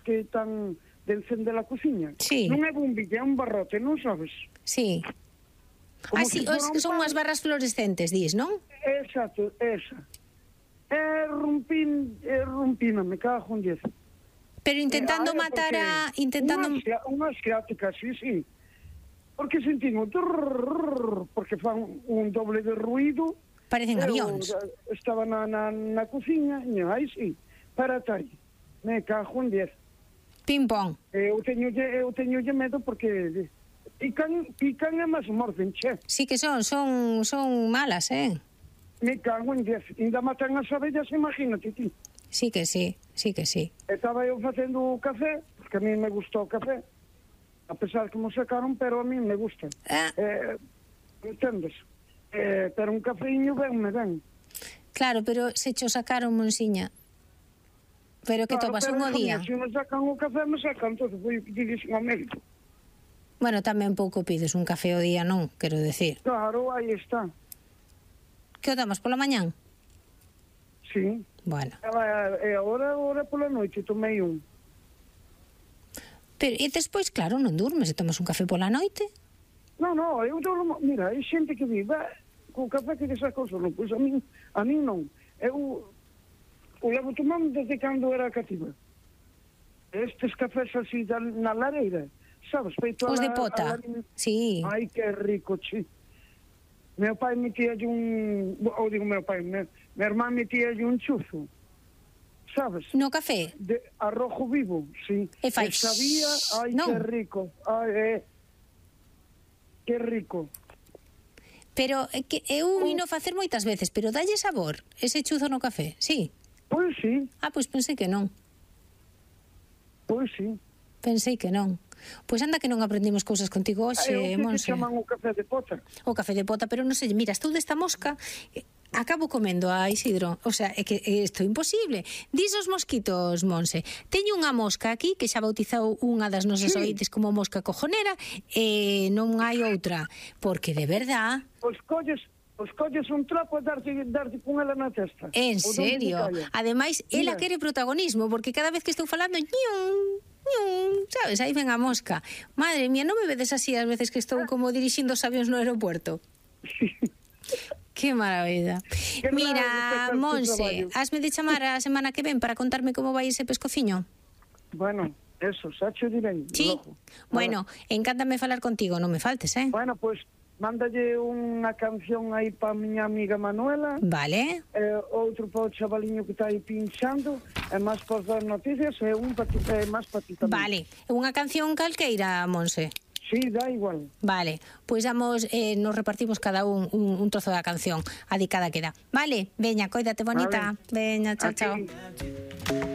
que están de encender a cociña. Sí. Non é bombilla, é un barrote, non sabes? Sí. Como Sí, se fora que un son pan. unhas barras fluorescentes, dis, non? Exacto, esa. Rompina, me cago en 10. Pero intentando matar a... Unha asiática, sí. Porque sentín o porque fan un doble de ruido. Parecen avións. Estaba na cociña, e aí sí, para aí. Me cago en 10. Pim pong. Eu teñolle medo porque pican e máis morden, che. Sí que son malas, Me cago en 10. Ainda matan as abellas, imagínate ti. Sí que sí. Estaba eu facendo o café, porque a mí me gustou o café, a pesar que me sacaron, pero a mí me gusta. Entendes? Pero un cafeíño ben. Claro, pero se cho sacaron, Monsiña. Pero que tomas un o día. Se me sacan o café, me sacan todo. Vou pedir ao médico. Bueno, tamén pouco pides un café o día, non? Quero decir. Claro, aí está. Que o tomas pola mañán? Sí. Bueno. E agora pola noite tomei un. Pero, e despois, claro, non durmes e tomas un café pola noite? Non, eu durmo... Mira, hai xente que vive co café que saca o sono. Pois a min non. Eu o levo tomando desde cando era cativa. Estes cafés así na lareira, sabes? Feito os de pota, sí. Ai, que rico, chi. Meu pai metíalle meu irmán metíalle un chuzo, sabes? No café? De arrojo vivo, sí. E fai... sabía, ai, que rico. Ai, que rico. Pero que eu vino facer moitas veces, pero dalle sabor ese chuzo no café, sí? Pois sí. Pois pensei que non. Pois sí. Pensei que non. Pois anda que non aprendimos cousas contigo hoxe, Monse. Que chaman o café de pota. O café de pota, pero non sei, mira, estou desta mosca, acabo comendo a Isidro, o sea, é que isto é imposible. Dis os mosquitos, Monse. Teño unha mosca aquí que xa bautizou unha das nosas ointes como mosca cojonera e non hai outra, porque de verdad... Os colles un trapo e darlle con ela na testa. En serio? Ademais, ela quere protagonismo, porque cada vez que estou falando, sabes, aí ven a mosca. Madre mía, non me vedes así as veces que estou como dirixindo os avións no aeropuerto? Que maravilla. Mira, Monse, hasme de chamar a semana que ven para contarme como vai ese pescociño? Bueno, eso, xa cho direi. Sí? Bueno, encántame falar contigo, non me faltes, Bueno, pois mándalle unha canción aí pa miña amiga Manuela. Vale. Outro pa o chavaliño que está aí pinchando. E máis para dar noticias. E un máis para ti tamén. Vale. Unha canción calqueira, Monse? Sí, dá igual. Vale. Pois nos repartimos cada un trozo da canción. Adicada queda. Vale. Veña, coídate bonita. Veña, chao.